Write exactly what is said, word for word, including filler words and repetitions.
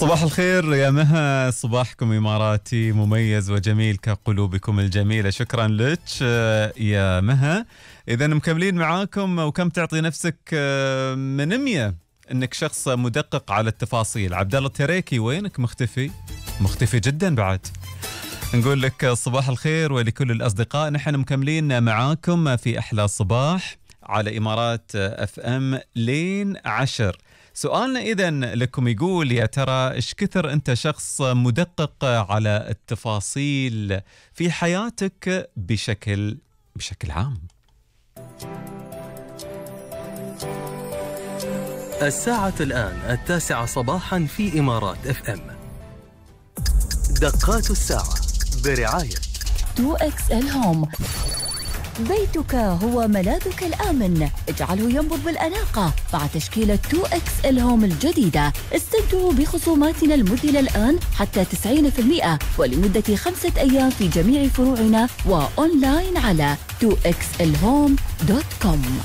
صباح الخير يا مها، صباحكم إماراتي مميز وجميل كقلوبكم الجميلة. شكرا لك يا مها. إذا مكملين معاكم، وكم تعطي نفسك من مية إنك شخص مدقق على التفاصيل؟ عبد الله التريكي وينك مختفي؟ مختفي جدا بعد. نقول لك صباح الخير ولكل الأصدقاء. نحن مكملين معاكم في أحلى صباح على إمارات اف ام لين عشر. سؤالنا إذن لكم يقول: يا ترى إيش كثر أنت شخص مدقق على التفاصيل في حياتك بشكل بشكل عام؟ الساعة الآن التاسعة صباحا في إمارات اف ام. دقات الساعة برعاية تو إكس إل هوم. بيتك هو ملاذك الآمن، اجعله ينبض بالأناقة مع تشكيلة تو إكس إل هوم الجديدة. استمتعوا بخصوماتنا المذهلة الآن حتى تسعين بالمئة ولمدة خمسة أيام في جميع فروعنا وأونلاين على تو إكس إل هوم دوت كوم.